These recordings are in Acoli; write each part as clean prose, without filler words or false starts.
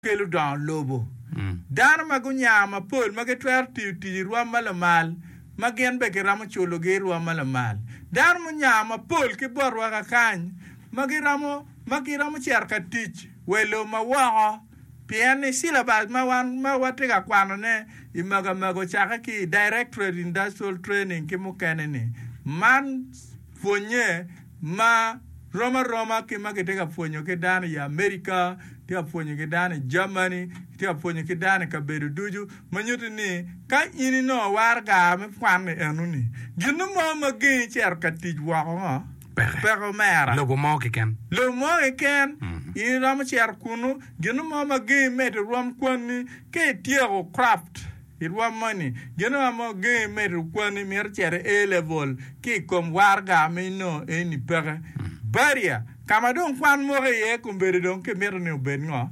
Kelo dongo lobo. Dano ma gunya mapol ma gitwero tiyo tic i rwom ma lamal ma gin bene kiromo culogi i rwom ma lamal. Dano munya mapol ki botwa kakany ma giromo ma giromo cito ka tic wa i lobo ma woko pien ni syllabus ma wan ma watye ka kwanone i Magamaga ocakke ki i Directorate Industrial Training ki mukene ni man pwonye ma rom aroma ki ma kitye ka pwonyo ki dano i Amerika, kitye ka pwonyo ki dano i Germany, kitye ka pwonyo ki dano i kabedo ducu, ma nyuto ni ka in inongo waraga me kwan-ni enoni, gin mo ma gengi cito ka tic woko ngo? Peke. Peke omera. Lobo mo keken. Lobo mo keken, in iromo cito kunu, gin mo ma gengi medo rwom kwanni ka ityeko craft. I rwom moni, gin ma mo gengi medo kwanni mito cito i A level ki i kom waraga ma inongo eni peke. Barrier, ka ma dong kwan moko iye kombeddi dong kimito ni obed ngo?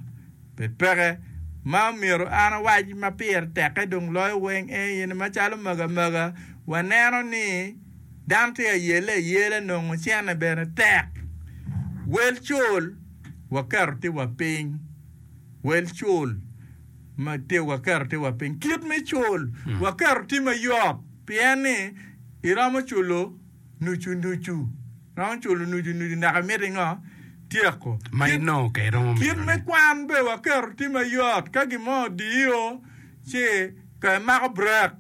Bed peke. Ma omyero an awac ma pire tekke dong loyo weng en aye ni macalo maga maga waneno ni dano tye ka yelle ayela nongo cene bene tek. Wel cul waketo tye wa piny. Wel cul. ma tye waketo tye wa piny. Kit me cul waketo tye mayot pien ni iromo culo nucu nucu, iromo culo nucu nucu naka imiti ngo? Tyeko. Ma inongo ka iromo Kit mito me ne. kwan bene waketo tye mayot ka gin mo odiyo ci ka imako brek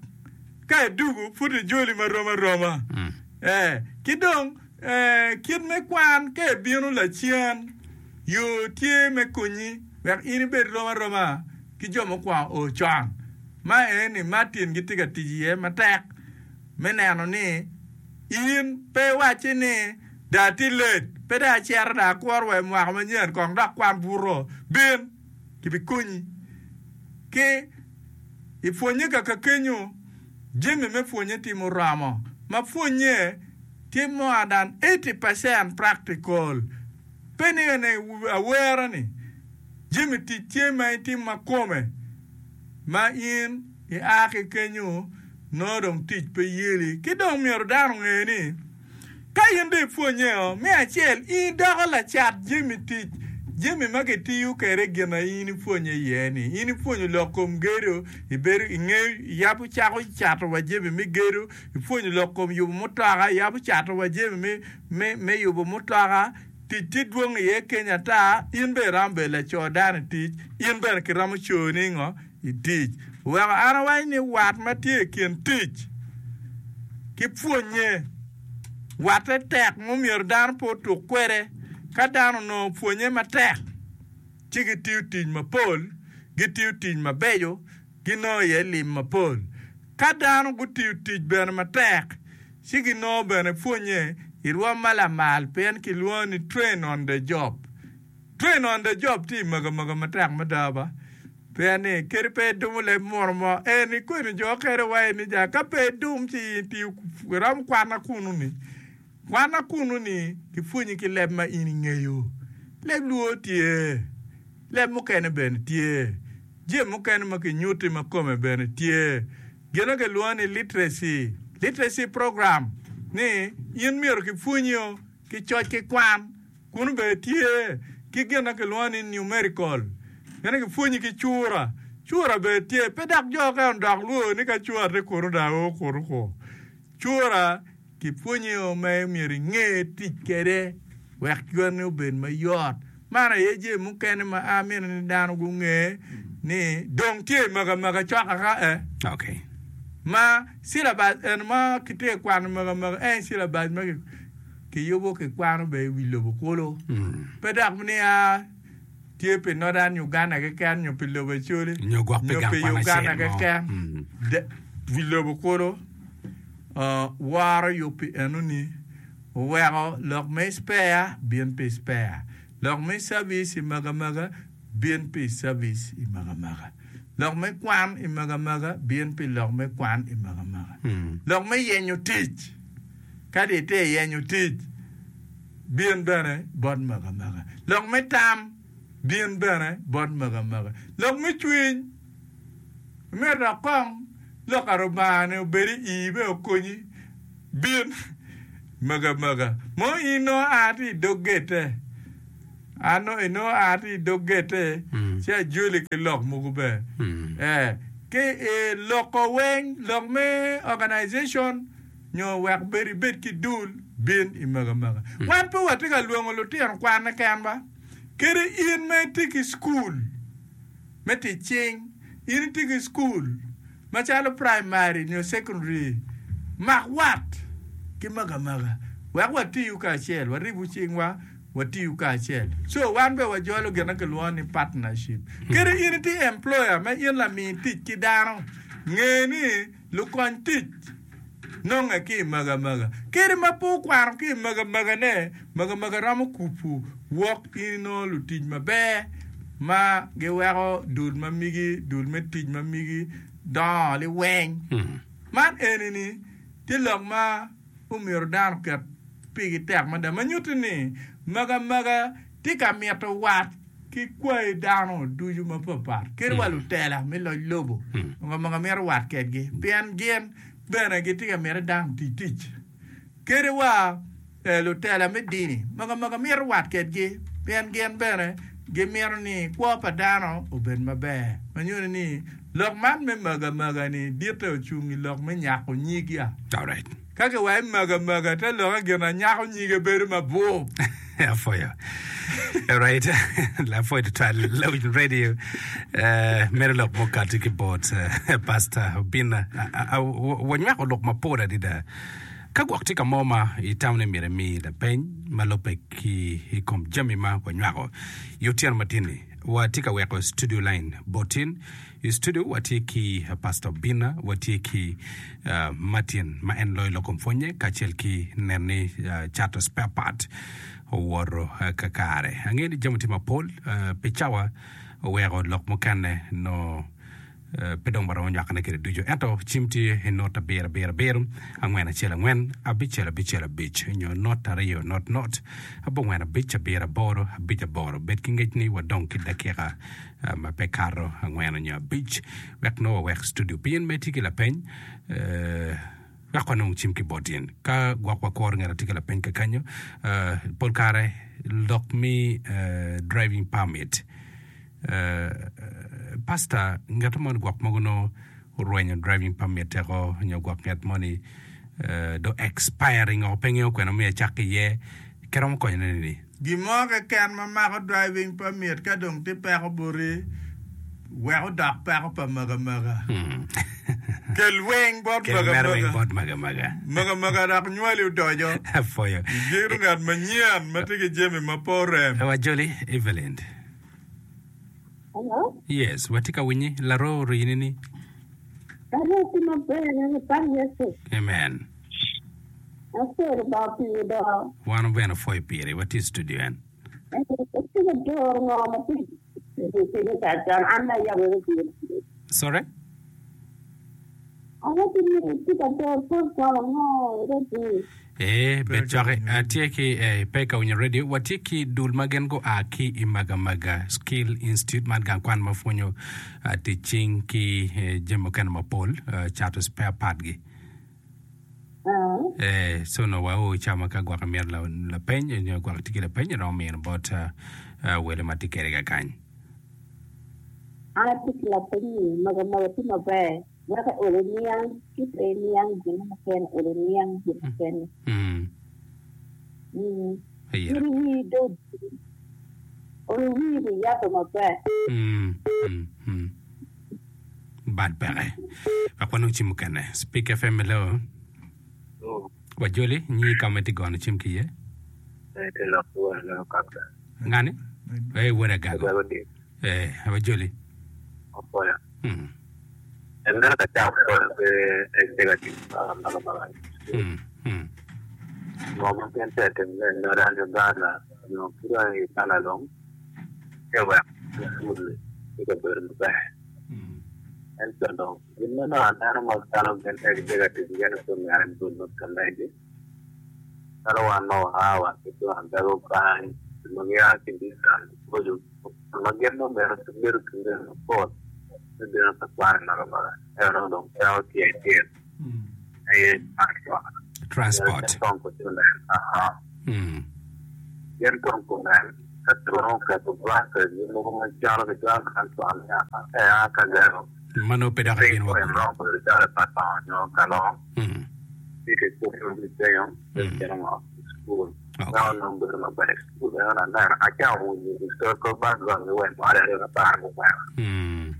ka idugu pud ijoli marom aroma. Ee, ki dong Kit me kwan ka ibino lacen, yo tye me konyi wek in ibed rom aroma ki jo mukwongo o con. Ma eni Martin gitye ka tic iye matek me neno ni in pe iwacci ni dong atye late, pe dong acito dong akuro wa i mwaka manyen kong dok kwan buto. Bin, kibikonyi ki i pwonye kaka kenyo jami me pwonye tye muromo ma pwonye tye more than 80 percent practical. Pe ni ene awera ni jami tic tye ma itimo ma kome ma in ia ki kenyo nongo dong tic pe yeli. Ki dong myero dano onge ni ka in dong ipwonye o, me acel in idoko lacat jami tic, jami ma kitiyo kwede gin ma in ipwonye iye ni. In ipwonyo lok kom gedo, ibedo ingeyo iyabo cako cato wa jami me gedo. Ipwonyo lok kom yubo mutoka, iyabo cato wa jami me yubo mutoka, tic tye dwong iye keny ata, in bene iromo bedo laco dano i tic, in bene kiromo coni ngo i tic. Oweko an awaco ni wat ma tye i kin tic ki pwonye, watte tek ma omyero dano pe otuk kwede. Ka dano onongo pwonye matek, ci gitiyo tic mapol, gitiyo tic mabeco, ginongo iye lim mapol. Ka dano gutiyo tic bene matek, ci ginongo bene pwonnye i rwom ma lamal pien kilwongo ni train on the job. Train on the job tye i magamagam matek mada ba, pien ni kadi pe idumo leb muno mo, en ikweni jo okene wa ni ja ka pe idum ci in itiyo iromo kwana kunu ni. Kwana kunu ni kipwonyi ki leb ma in ingeyo. Leb luo tye, leb mukene bene tye, jami mukene ma kinyutti ma kome bene tye. Gin ma kilwongo ni literacy, literacy program ni in myero kipwonyio ki coc ki kwan kunu bene tye ki gin ma kilwongo ni numerical gin ma kipwonyi ki cura, cura bene tye pe dok jo okene odok lwor ni ka cura tye kunu dong ao kunu ko. Cura kipwonyo ma myero inge tic kwede wek cwanni obed mayot. Man aye jami mukene ma amito ni dano gunge ni dong tye i magamaka cok aka eh. Okay. Ma syllabus eno ma kitye ka kwano magamaka en syllabus ma kiyubo kikwano bene i wi lobo kulu. Pe dok ni a tye pi Northern Uganda keken nyo pi lobo Acholi Nyo gwok pi nyo gang pi kwan Uganda acel mo. keken. Mm. De- Wi lobo kulu uh, woro yub pi enoni oweko lok me spare bin pi spare, lok me service i magamaga bin pi service i magamaga, lok me kwan i magamaga bin pi lok me kwan i magamaga, Mm. lok me yenyo tic kadi itye yenyo tic bin bene bot magamaka. Lok me tam, bin bene bot magamaka. Lok me cwiny, imito dok kong lok pa Rubanga-ni obed i ii bene okonyi, bin magamaka. Mo in nongo a tye i dog gette. An nongo inongo a tye i dog gette ci ajoli ki lok mogo bene. Ee, ki i loko weng, lok me organization nyo wek bed ibed ki dul, bin i mega mega. Wan pe watye ka lwongo lutino kwan keken ba. Kadi in ma itye ki cukul me tic cing, in itye ki cukul macalo praimari nyo cekondari, mak wat ki mega mega wek watiyu kacel, waribu cingwa watiyu kacel. Co wan bene wajolo gin ma kilwongo ni partnership. Kadi in itye employer ma in lami tic ki dano, nge ni lukony tic nonge ki i mega mega. Kadi ma pe okwano ki i mega megane, mega mega romo kubu wok in inongo lutic maber ma giweko dul ma migi, dul me tic ma migi dongo liweng. Man eni-ni tye lok ma omyero dano oket pigi tek mada ma nyutti ni magamaga tye ka mito wat ki kwayi dano ducu mapatpat kadi wa lutela me loc lobo magamaga mito wat kedgi pien gin bene gitye ka mito ni dano oti tic kadi wa lutela me dini magamaga mito wat kedgi pien gin bene gimito ni kwo pa dano obed maber ma nyuto ni lok man me magamaga-ni ditte ocung i lok me nyako nyig ya. Ka kiwaco ni magamaga te lokke gin anyako nyige bedo mabwub. Apwoyo. Alright. Lapwoyo tutwal Lawiny Radio. Eh, mere lok mukati ki bot eh, Pastor Obinna. Wanywako lok mapol adada. Ka gwok tye ka mo ma itamo ni myero imi lapeny ma lubbe ki i kom jami ma wanywako i otyeno matin-ni, watye ka weko studio line botin. I studio watye ki Pastor Obinna, watye ki Martin ma en loyo lok kom pwonye kacel ki neno ni cato spare part owoto kakare. Angeyo ni jami tye mapol pi cawa oweko lok mukene nongo Pe dong waromo nywakone kwede ducu, ento cim tye i not abiro abiro abiro, angwen acel angwen, abicel abicel abic, nyo not aryo not not, abongwen abic abiro aboro abic aboro. Bed ki ngec ni wadong ki dakika ma pe kato angwen nyo abic wek nongo wawek studio. Pi in ma itye ki lapeny, wek wanong cim ki bot in. Ka gwok wakuro ngat atye ki lapeny kakanyo, pol kare lok me driving permit Pastor, ngat mo ni gwok mogo nongo orwenyo driving permit eko nyo gwok ngat mo ni dong expiring oko pe ngeyo kwene omiyo ecak ki iye, kiromo konyone nini? Gin mo keken ma mako driving permit ka dong tye peko boti, wek odok peko pa mega mega. Kel weng bot Kel mega mere weng mega. bot mega mega. Mega mega dok nywali odoco. Apwoyo. Igeno ngat manyen ma tye ki jami ma pe orem. Wajoli Evelyn. Hello? Yes, watye ka winyi. Laroo orini ni. Laroo tye maber, apak Yecu. Amen. Apwoyo Lubanga piri do. Wan bene opwoyo piri, watye i studio en. Atye ka doro ngo ma tye i kare con, an ma ayabo radio. Sorry? Awaco ni itye ka doro program ango i radio? Ee, bed coki. Atye ki eh, pe ka winyo radio. Watye ki dul ma gin gua ki i Magamaga Skill Institute, man gang kwan ma pwonyo ah, tic cing ki eh, jami mukene mapol, ah, cato spare part-gi. Ah. Eh, so nongo wao i cawa ma ka gwok imito la- lapeny nyo gwok itye ki lapeny iromo mino bot ah, ah, wele ma tye kwede kakany. An atye ki lapeny ni, Magamaga tye maber. Wek olo niang ci pe iniang gin mukene, olo niang gin mukene. Ayera. In iwii do olo wii bi yabbe maber. Bad peke. Wek wanong cim mukene. Speak FM hello. Wajoli, nyi ka ma itye gono cim ki iye. Ngani? Eh, wod agago. Eh, wajoli. En meno ka cako pol pe en tye ka tic makamaka ngo ma gin tye ka timone i Northern Uganda nyo ki dong i Uganda dong ci wek pul ki kabedo maber ento dong gin ma nongo aneno ma calo gin pe gitye ka tic gin pe omyero gibed ma pe Calo wan ma waa wa ki tung adago kany, jo ma gia ki distance maboco ma gin nongo myero gibedo ki miti mapol me bino ka kwan i Magamaga ento nongo dong peko tye acel aye transport. Transport. Gin kong gunen. Gin kong gunen. Ka kiromo keto branches mogo macalo ki cwalo transfer me a ka gero Ma nongo pe dok piny ibino wa point gudo. romo bedo calo i Patong nyo Kalong Mm. ci kikubo ki kenyo me Mm. cito ngo i cukul. Okay. Meno nongo bedo maber i cukul eno aneno acako winyo historical background ki wek mwaka aryo apar gungwen Mm.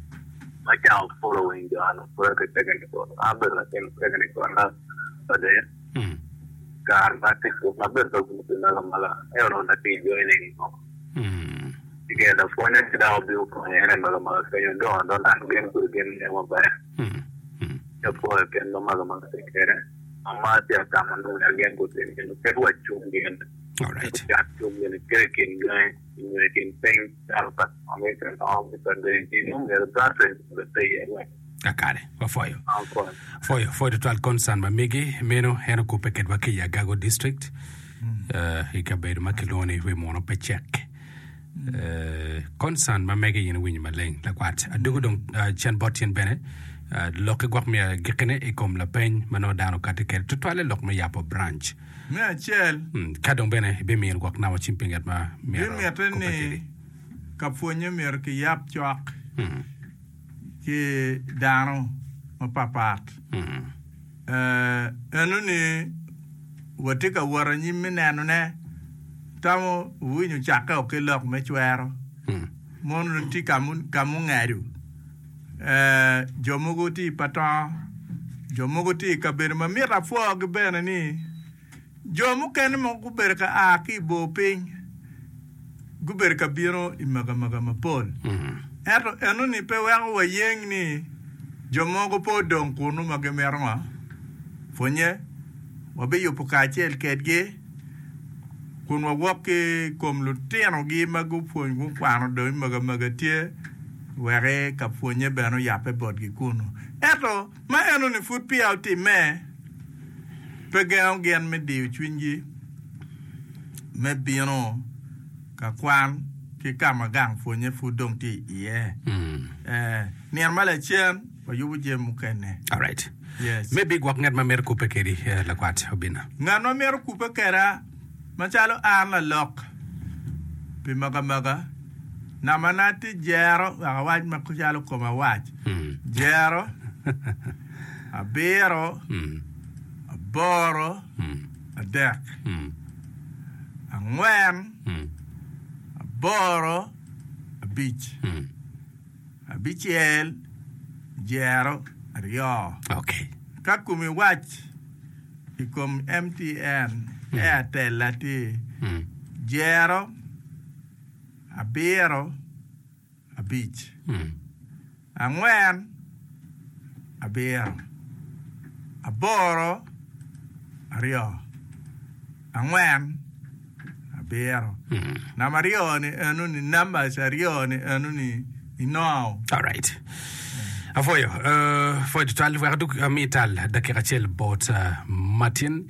acako following jo eno pwod ki technical an abedo latin technical na ade Mm. kare ma atye ma abedo ka winyo pi mega mega ento onongo atye ka joining ngo Mm. ci gin lapwonye ci dok obino konyo en i mega mega kenyo dongo adonga gin kodi gin ngeyo maber Mm. Mm. ci apwoyo kit ma mega mega tye kwede ma atye ka tamo ni wek gin gutim gin kit wa cung gin Alright. gucak cung gin kit i kin gangi nyo i kin piny calo pa America nongo ki pa Dei nongo myero branches obed pe iye wek Kakare, wapwoyo. Apwoyo. Pwoyo, pwoyo tutwal concern ma megi meno en okubbe kedwa ki i Agago district eh, i kabedo ma kilwongo ni wi muno pe cek. Eh, concern ma mege in iwinyo maleng lakwat. Adugo dong eh, cen bot tyen bene eh, lokki gwok me agikkine i kom lapeny ma nongo dano okati kwede tutwalle lok me yabo branch. Me acel, Mm, ka dong bene ibimiyo gwok namba cim pi ngat ma myero bimitte kubbe ni kwedi. ka pwonye myero kiyab cok. Mm. ki dano mapatpat. Enoni watye ka wot anyim me nenone, tamo wuwinyo cakke o ki lok me cwero, mono dong tye ka mungedo, jo mogo tye i patongo, jo mogo tye i kabedo ma mito apwogi bene ni Jo mukene mogo gubedo ka a ki i bor piny, gubedo ka bino i magamaga mapol. Ento enoni pe weko wayeng ni jo mogo pe odong kunnu ma gimito ngo? Pwonnye. Wabiyubo kacel kedgi kun wawok ki i kom lutinogi ma gupwony gukwano dong i magamaga tye wek ka pwonnye bene oyabbe botgi kunnu. Ento Ma enoni pud peya otimme, pe gengo gin me diyo cwinygi me bino ka kwan ki ka ma gang pwonye pud dong tye iye. Ee, nino ma lacen wayubo jami mukene. Alright. Yes. Maybe gwok ngat ma mito kubbe kedi eh, lakwat Obinna. Ngat ma mito kubbe keda macalo an lalok pi magamaga, Nambana tye jero wek awac macalo koma wac, jero, abiro, aboro, adek, angwen, aboro, abic, abicel, jero, aryo. Ka komi wac i kom MTN, Airtel-la tye jero, abiro, abic, angwen, abiro, aboro, aryo, angwen, abiro. Namba aryo-ni enoni, numbers aryo-ni enoni inongo. Alright. Apwoyo, uh, pwoyo tutwal. Wek adug ami tal dakika acel bot uh, Martin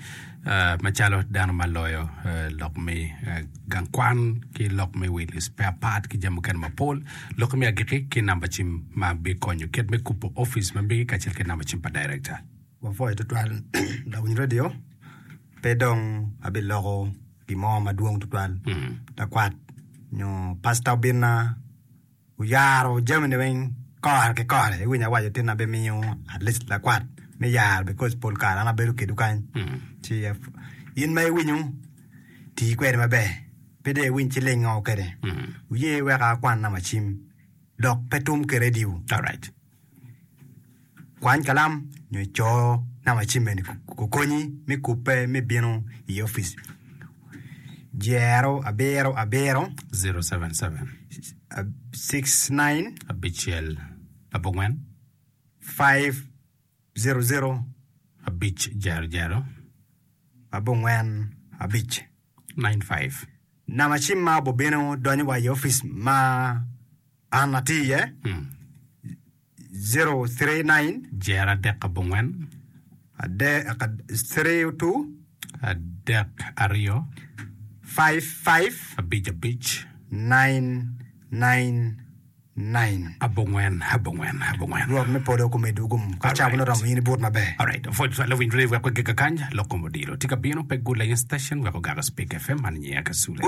uh, macalo dano ma loyo uh, lok me uh, gang kwan ki lok me wilo spare part ki jami mukene mapol. Lok me agikki ki namba cim ma bikonyo kit me kubo opic ma megi kacel ki namba cim pa director. Wapwoyo tutwal lawiny radio, pe dong abiloko gin mo madwong tutwal. Lakwat nyo pastor Obinna oyaro jamine weng kore ki kore iwinyo awaco tin abimiyo at least lakwat me yaro because pol kare an abedo kedwu kany ci in ma iwinyo tii kwede maber pe dong iwiny ci lingo kwede wuye wek akwan namba cim dok pe tum ki radio Kwany kalam nyo ico namba cim eni okonyi me kubbe me bino i opic. Jero abiro abiro. 077. 69. Abicel abongwen. 500. Abic jero jero. Abongwen abic. 95. Namba cim ma obobino donyo wa i opic ma an atye iye. 039. Jer 39. 32. 32. 55. 5 5. 9 9 9. 9 9 9. Rwot me polo okomedwu gum ka cawa Alright. oromo in ibut maber. Alright, opwoc twal lawiny radio wek wagik kakany lok kom odilo tye ka bino pe gula in station wek ogak Spik FM man nyiya Kasule.